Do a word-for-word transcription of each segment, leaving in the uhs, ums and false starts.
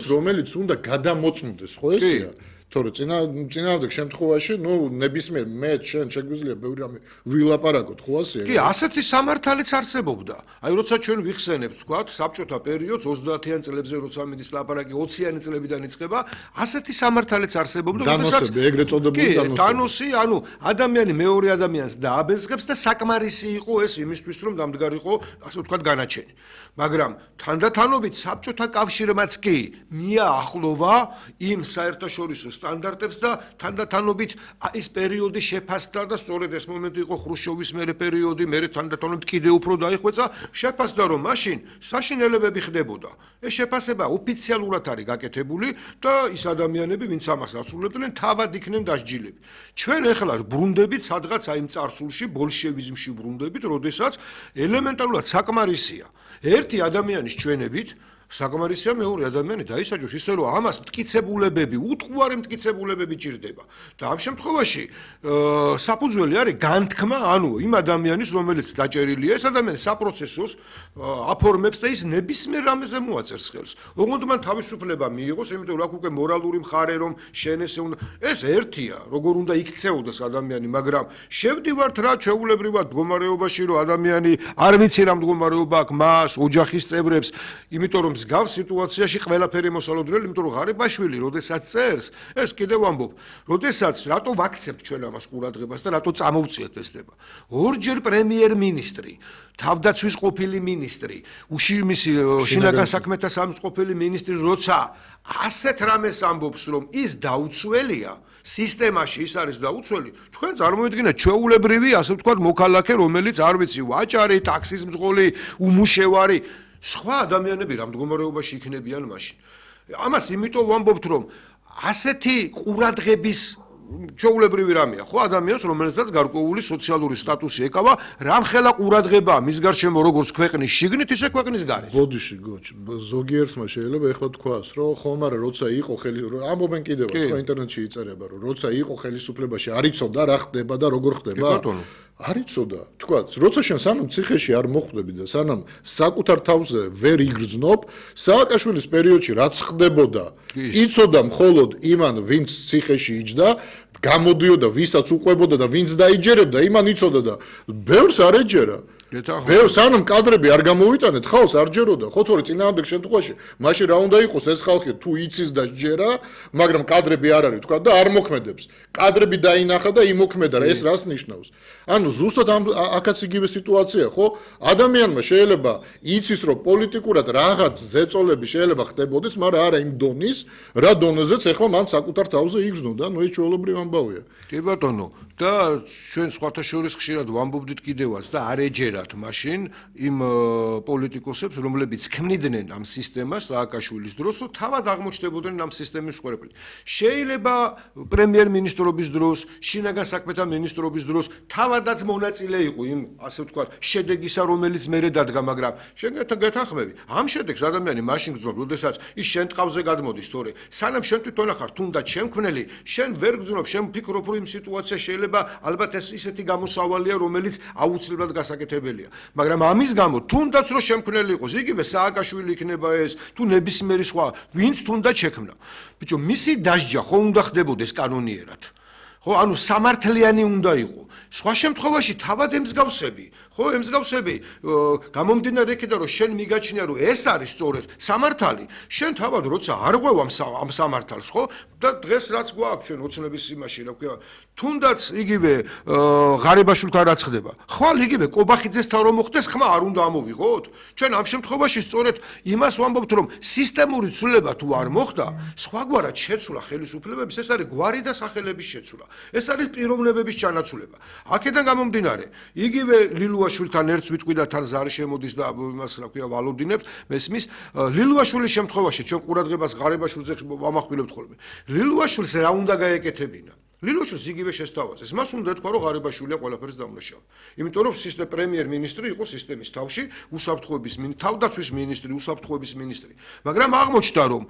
რომელიც უნდა გადამოწმდეს, ხო ესეა? თორე წინა წინააღმდეგ შემთხვევაში, ნუ ნებისმიერ მე შენ შეგვიძლია ბევრი რამე ვილაპარაკოთ, ხო ასეა? კი, ასეთი სამართალიც არსებობდა. აი, როცა ჩვენ ვიხსენებთ, თქვათ, საბჭოთა პერიოდს ოცდაათიან წლებზე, როცა მიდის ლაპარაკი ოციანი წლებიდან იწყება, ასეთი სამართალიც არსებობდა, როდესაც ეგრეთ წოდებული დანოსი. დანოსი, ანუ ადამიანი მეორე ადამიანს დააბეზღებს და საკმარისი იყო ეს იმისთვის, რომ დამდგარიყო, ასე ვთქვათ, განაჩენი. მაგრამ თანდათანობით საბჭოთა კავშირმაც კი მიაახლოვა იმ საერთაშორისო სტანდარტებს და თანდათანობით ის პერიოდი შეფასდა და სწორედ ეს მომენტი იყო ხრუშჩოვის მერე პერიოდი, მერე თანდათანობით კიდევ უფრო დაიხვეწა, შეფასდა რომ მაშინ საშინელებები ხდებოდა. ეს შეფასება ოფიციალურად არის გაკეთებული და ის ადამიანები, ვინც ამას ასრულებდნენ, თავად იქნენ დასჯილები. ჩვენ ახლა ბრუნდებით სადღაც აი იმ წარსულში, ბოლშევიზმში ბრუნდებით, როდესაც ელემენტარულად საკმარისია ერთი ადამიანის ჩვენებით საკმარისია მეორე ადამიანი დაისაჯოს ისე რომ ამას მტკიცებულებები, უტყუარი მტკიცებულებები ჭირდება. და ამ შემთხვევაში საფუძველი არის განთქმა, ანუ იმ ადამიანის, რომელიც დაჭერილია, ეს ადამიანი საპროცესოს აფორმებს და ის ნებისმიერ რამეზე მოაწერს ხელს. ოღონდ მან თავისუფლება მიიღოს, იმიტომ რომ აქ უკვე მორალური მხარე რომ შენ ესე უნდა ეს ერთია, როგორ უნდა იქცეოდეს ადამიანი, მაგრამ შევდივართ რა ჩვეულებრივად მდგომარეობაში, რომ ადამიანი არ ვიცი რა მდგომარეობა აქვს მას, ოჯახის წევრებს, იმიტომ რომ მსგავს სიტუაციაში ყველაფერი მოსალოდნელი, იმიტომ რომ ღარიბაშვილი, როდესაც წერს, ეს კიდევ ამბობ, როდესაც რატო ვაქცევთ ჩვენ ამას ყურადღებას და რატო წამოვწიეთ ეს ნება. ორჯერ პრემიერ-მინისტრი, თავდაცვის ყოფილი მინისტრი, უშიმისი შინაგან საქმეთა სამის ყოფილი მინისტრი, როცა ასეთ რამეს ამბობს, რომ ის დაუცველია, სისტემაში ის არის დაუცველი, თქვენ წარმოიდგინეთ ჩვეულებრივი, ასე ვთქვათ, მოქალაქე, რომელიც არ ვიცი, ვაჭარი, ტაქსის მძღოლი, უმუშევარი სხვა ადამიანები რა მდგომარეობაში იქნებიან მაშინ. ამას იმიტომ ვამბობთ, რომ ასეთი ყურადღების ჩვეულებრივი რამეა, ხო, ადამიანს, რომელსაც გარკვეული სოციალური სტატუსი ეკავა, რამხელა ყურადღება მის გარშემო როგორც ქვეყნის შიგნით, ისე ქვეყნის გარეთ. ბოდიში, გოჩ, ზოგიერთმა შეიძლება ეხლა თქვას, რომ ხომ არა, როცა იყო ხელი, ამბობენ კიდევაც, ხო, ინტერნეტში იწერება, რომ როცა იყო ხელისუფლებაში, არ იცოდა რა ხდება და როგორ ხდება. არ იცოდა, თქვათ, როცა შენ სანამ ციხეში არ მოხვდები და სანამ საკუთარ თავზე ვერ იგრძნობ, სააკაშვილის პერიოდში რაც ხდებოდა, იცოდა მხოლოდ იმან, ვინც ციხეში იჯდა, გამოდიოდა, ვისაც უყვებოდა და ვინც დაიჯერებდა, იმან იცოდა და ბევრს არ ეჯერა. ბევრს სანამ კადრები არ გამოვიტანეთ, ხალხს არ ჯეროდა, ხო, თორე წინააღმდეგ შემთხვევაში, მაშინ რა უნდა იყოს ეს ხალხი თუ იცის და ჯერა, მაგრამ კადრები არ არის, თქვა და არ მოქმედებს. კადრები დაინახა და იმოქმედა, ეს რას ნიშნავს? ანუ ზუსტად აქაც იგივე სიტუაცია, ხო? ადამიანმა შეიძლება იცის, რომ პოლიტიკურად რაღაც ზეწოლები შეიძლება ხდებოდეს, მაგრამ არა იმ დონის, რა დონეზეც ახლა მან საკუთარ თავზე იგრძნოდა, ნუ ეს ჩვეულებრივი ამბავია. კი ბატონო, და ჩვენ სხვათა შორის ხშირად ვამბობდით კიდევაც და არ ეჯერათ მაშინ იმ პოლიტიკოსებს, რომლებიც ქმნიდნენ ამ სისტემას სააკაშვილის დროს, რომ თავად აღმოჩნდებოდნენ ამ სისტემის მსხვერპლი. შეიძლება პრემიერ-მინისტრობის დროს, შინაგან საქმეთა მინისტრობის დროს თავადაც მონაწილე იყო იმ, ასე ვთქვათ, შედეგისა, რომელიც მერე დადგა, მაგრამ შენ გეთანხმები, ამ შედეგს ადამიანი მაშინ გძნობ, როდესაც ის შენ ტყავზე გადმოდის, თორე სანამ შენ თვითონ ახარ თუნდაც შემქმნელი, შენ ვერ გძნობ, შენ ვფიქრობ, რომ იმ სიტუაციაში შეიძლება ალბათ ეს ისეთი გამოსავალია, რომელიც აუცილებლად გასაკეთებელია. მაგრამ ამის გამო, თუნდაც რომ შემქმნელი იყოს, იგივე სააკაშვილი იქნება ეს, თუ ნებისმიერი სხვა, ვინც თუნდაც შექმნა. ბიჭო, მისი დასჯა ხო უნდა ხდებოდეს კანონიერად. ხო, ანუ სამართლიანი უნდა იყო. სხვა შემთხვევაში თავად ემსგავსები, ხო, ემსგავსები, გამომდინარე იქიდან, რომ შენ მიგაჩნია, რომ ეს არის სწორედ სამართალი, შენ თავად როცა არ ღვევ ამ სამართალს, ხო? და დღეს რაც გვაქვს ჩვენ ოცნების იმაში, რა ქვია, თუნდაც იგივე ღარიბაშვილთან რაც ხდება. ხვალ იგივე კობახიძესთან რომ მოხდეს, ხმა არ უნდა ამოვიღოთ? ჩვენ ამ შემთხვევაში სწორედ იმას ვამბობთ, რომ სისტემური ცვლილება თუ არ მოხდა, სხვაგვარად შეცვლა ხელისუფლებების, ეს არის გვარი და სახელების შეცვლა. ეს არის პიროვნებების ჩანაცვლება. აქედან გამომდინარე, იგივე ლილუაშვილთან ერთს ვიტყვი და თან ზარი შემოდის და იმას რა ქვია ვალოდინებთ, მესმის, ლილუაშვილის შემთხვევაში ჩვენ ყურადღებას ღარიბაშვილზე ვამახვილებთ ხოლმე. ლილუაშვილს რა უნდა გაეკეთებინა? ლილუაშვილს იგივე შესთავაზეს. მას უნდა ეთქვა, რომ ღარიბაშვილია ყველაფერს დამნაშავე. იმიტომ რომ სისტემ პრემიერ-მინისტრი იყო სისტემის თავში, უსაფრთხოების მინისტრი, თავდაცვის მინისტრი, უსაფრთხოების მინისტრი. მაგრამ აღმოჩნდა, რომ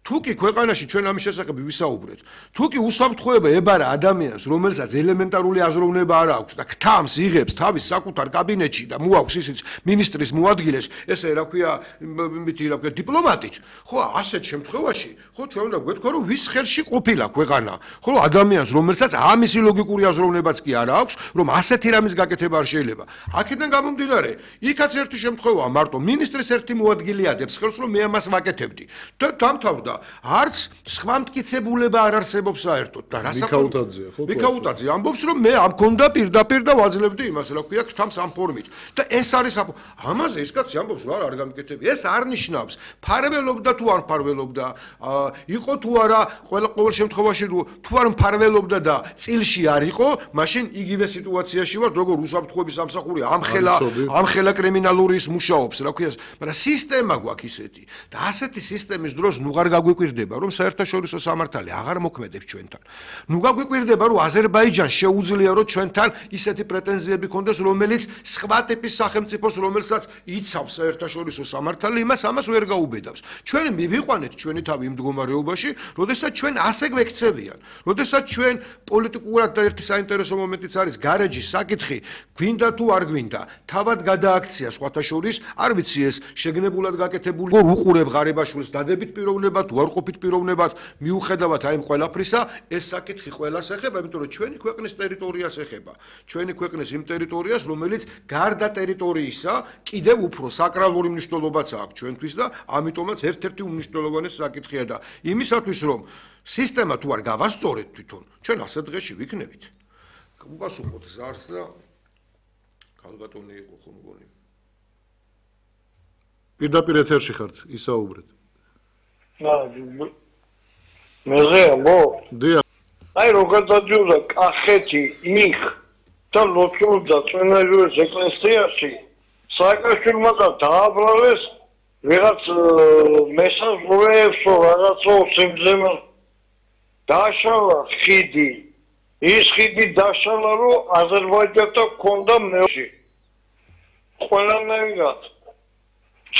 თუკი ქვეყანაში ჩვენ ამის შესახებ ვისაუბრეთ, თუკი უსაფრთხოება ებარა ადამიანს, რომელსაც ელემენტარული აზროვნება არ აქვს და ქთამს იღებს თავის საკუთარ კაბინეტში და მოაქვს ისიც მინისტრის მოადგილეს, ესე რა ქვია, მითი რა ქვია, დიპლომატით, ხო, ასეთ შემთხვევაში, ხო, ჩვენ უნდა გვეთქვა, რომ ვის ხელში ყოფილა ქვეყანა, ხო, ადამიანს, რომელსაც ამისი ლოგიკური აზროვნებაც კი არ აქვს, რომ ასეთი რამის გაკეთება არ შეიძლება. აქედან გამომდინარე, იქაც ერთი შემთხვევაა, მარტო მინისტრის ერთი მოადგილე ადებს ხელს, რომ მე ამას ვაკეთებდი და დამთავრდა. არც სხვა მტკიცებულება არ არსებობს საერთოდ და რასაკუთრებია ხო მიქაუტაძე ამბობს რომ მე ამ კონდა პირდაპირ და ვაძლევდი იმას რა ქვია ქთამს ამ ფორმით და ეს არის ამაზე ის კაცი ამბობს რა არ გამიკეთები ეს არ ნიშნავს ფარველობდა თუ არ ფარველობდა იყო თუ არა ყველა ყოველ შემთხვევაში თუ არ ფარველობდა და წილში არ იყო მაშინ იგივე სიტუაციაში ვარ როგორ უსაფრთხოების სამსახური ამხელა ამხელა კრიმინალურის მუშაობს რა ქვია მაგრამ სისტემა გვაქვს ისეთი და ასეთი სისტემის დროს ნუ არ გაგვიკვირდება რომ საერთაშორისო სამართალი აღარ მოქმედებს ჩვენთან. ნუ გაგვიკვირდება რომ აზერბაიჯანს შეუძლია რომ ჩვენთან ისეთი პრეტენზიები ქონდეს რომელიც სხვა ტიპის სახელმწიფოს რომელსაც იცავს საერთაშორისო სამართალი იმას ამას ვერ გაუბედავს. ჩვენ მივიყვანეთ ჩვენი თავი იმ მდგომარეობაში, როდესაც ჩვენ ასე გვექცევიან. როდესაც ჩვენ პოლიტიკურად და ერთი საინტერესო მომენტიც არის გარეჯის საკითხი, გვინდა თუ არ გვინდა. თავად გადააქცია სხვათა შორის, არ ვიცი ეს შეგნებულად გაკეთებული უყურებ ღარიბაშვილს დადებით პიროვნება თუ არ ყოფით პიროვნებად მიუხედავად აი ამ ყველაფრისა ეს საკითხი ყველას ეხება იმიტომ რომ ჩვენი ქვეყნის ტერიტორიას ეხება ჩვენი ქვეყნის იმ ტერიტორიას რომელიც გარდა ტერიტორიისა კიდევ უფრო საკრალური მნიშვნელობაც აქვს ჩვენთვის და ამიტომაც ერთ-ერთი უმნიშვნელოვანესი საკითხია და იმისათვის რომ სისტემა თუ არ გავასწორეთ თვითონ ჩვენ ასე დღეში ვიქნებით უპასუხოთ ზარს და ქალბატონი იყო ხო მგონი პირდაპირ ეთერში ხართ ისაუბრეთ მეზე მო დია აი როგორ დაძურა კახეთი იქ და ლოცულდა წვენაჟურის ეკლესიაში სააკაშვილმა და დააბრალეს ვიღაც მესაზღვრეებს რაღაცო სიმძიმე დაშალა ხიდი ის ხიდი დაშალა რომ აზერბაიჯანთან ქონდა მეოში ყველანაირად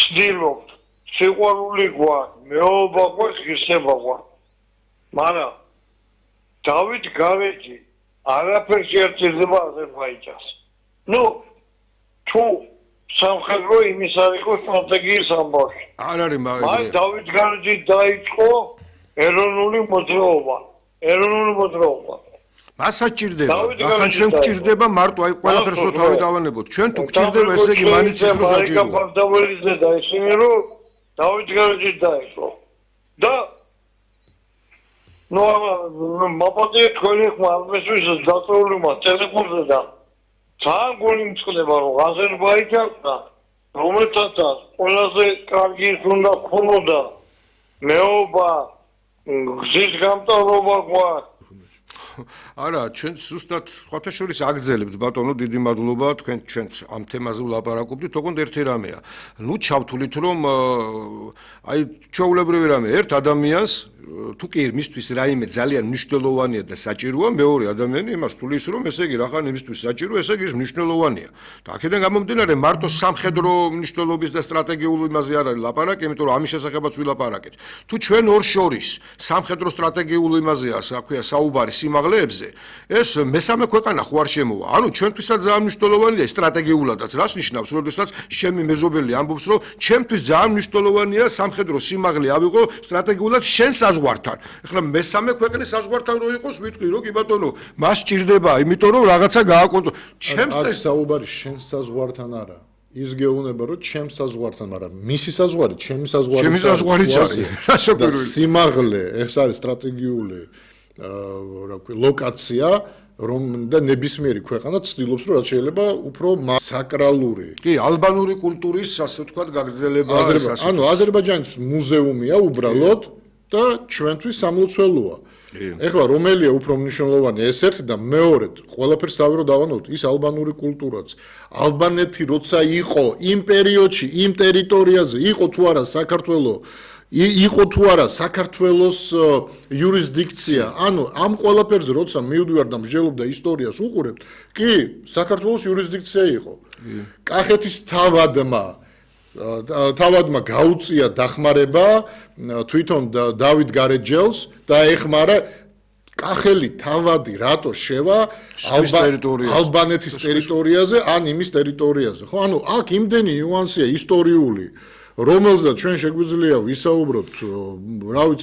ცდილობთ სიყვარული გვაქვს მეობა გვაქვს ღირსება გვაქვს მაგრამ დავით გარეჯი არაფერს ერთიზება აზერბაიჯანს ნუ თუ სამხედრო იმის არ იყო სტრატეგიის ამბავში არ არის მაგრამ აი დავით გარეჯი დაიწყო ეროვნული მოძრაობა ეროვნული მოძრაობა მას საჭირდება ახლა ჩვენ გვჭირდება მარტო აი ყველაფერს რო თავი დავანებოთ ჩვენ თუ გვჭირდება ესე იგი მანიცის რო საჭიროა დაველიზე და ისინი რომ დავით გარეჯი დაიწყო და ნუ მაპატე თქვენი ხმა ამისთვის დაწეული მა ტელეფონზე და ძალიან გული მწყდება რომ აზერბაიჯანთან რომელთაც ყველაზე კარგი უნდა ქონოდა მეობა გზის გამტარობა გვაქვს არა ჩვენ ზუსტად სხვათა შორის აგრძელებთ ბატონო დიდი მადლობა თქვენ ჩვენც ამ თემაზე ვლაპარაკობდით თქო ერთი რამეა ნუ ჩავთვლით რომ აი ჩვეულებრივი რამე ერთ ადამიანს თუ კი მისთვის რაიმე ძალიან მნიშვნელოვანია და საჭიროა მეორე ადამიანი იმას თulis რომ ესე იგი რახან იმისთვის საჭირო ესე იგი მნიშვნელოვანია და აქედან გამომდინარე მარტო სამხედრო მნიშვნელობის და სტრატეგიული იმაზე არ არის ლაპარაკი იმიტომ რომ ამის შესახებაც ვილაპარაკეთ თუ ჩვენ ორ შორის სამხედრო სტრატეგიული იმაზეა საქმეა საუბარი სიმაღლეებზე ეს მესამე ქვეყანა ხო არ შემოვა ანუ ჩვენთვისაც ძალიან მნიშვნელოვანია სტრატეგიულადაც რას ნიშნავს როდესაც ჩემი მეზობელი ამბობს რომ ჩემთვის ძალიან მნიშვნელოვანია სამხედრო სიმაღლე ავიღო სტრატეგიულად შენს საზღვართან. ეხლა მესამე ქვეყნის საზღვართან რო იყოს, ვიტყვი რომ კი ბატონო, მას ჭირდება, იმიტომ რომ რაღაცა გააკონტროლო. ჩემს ეს საუბარი შენს საზღვართან არა. ის გეუბნება რომ ჩემს საზღვართან, მაგრამ მისი საზღვარი, ჩემი საზღვარი. ჩემი საზღვარიც არის. და სიმაღლე, ეს არის სტრატეგიული რა ქვია, ლოკაცია, რომ და ნებისმიერი ქვეყანა ცდილობს რომ რაც შეიძლება უფრო საკრალური. კი, ალბანური კულტურის ასე ვთქვათ გაგრძელება ეს ასე. ანუ აზერბაიჯანის მუზეუმია უბრალოდ და ჩვენთვის სამლოცველოა. ეხლა რომელია უფრო მნიშვნელოვანი ეს ერთი და მეორედ ყველაფერს თავი რომ დავანოთ ის ალბანური კულტურაც. ალბანეთი როცა იყო იმ პერიოდში იმ ტერიტორიაზე იყო თუ არა საქართველოს იყო თუ არა საქართველოს იურისდიქცია. ანუ ამ ყველაფერზე როცა მივდივარ და მსჯელობ და ისტორიას უყურებთ, კი, საქართველოს იურისდიქცია იყო. კახეთის თავადმა თავადმა გაუწია დახმარება თვითონ დავით გარეჯელს და ეხმარა კახელი თავადი რატო შევა ალბანეთის ტერიტორიაზე ან იმის ტერიტორიაზე ხო ანუ აქ იმდენი ნიუანსია ისტორიული რომელზეც ჩვენ შეგვიძლია ვისაუბროთ რა ვიცი